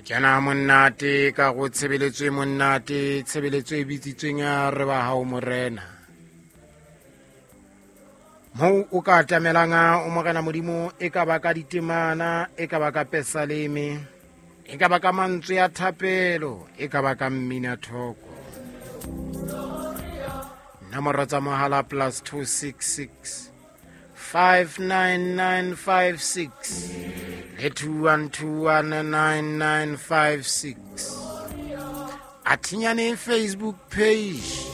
Re kena monate ka go tshebeletso e monate, tshebeletso e bitsitsweng ya re ba hao morena. Moo o ka atamelang o morena modimo, e ka ba ka ditemana, e ka ba ka pesaleme, e ka ba ka mantswe ya thapelo, e ka ba ka mmina thoko. Nomoro tsa mohala plus 266 59956 le 21219956. Athinyane Facebook page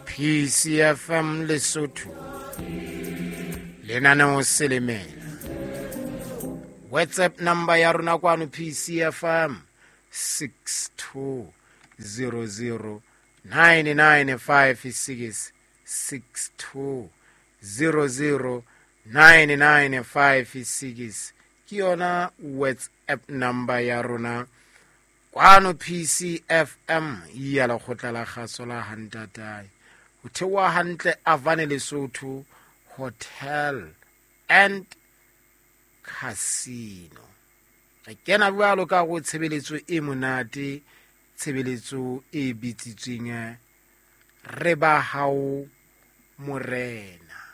PCFM Lesotho, lenaneo Selemela. WhatsApp number ya rona kwano PCFM 6200 9956, 6200 9956 ke yona WhatsApp number ya rona kwano PCFM ya lekgotla la kgaso la Hantatae. Ho theoha hantle Avane Lesotho Hotel and Casino. Re kena jwalo ka go tshebeletso e monate, tshebeletso e bitsitsweng re ba hao morena.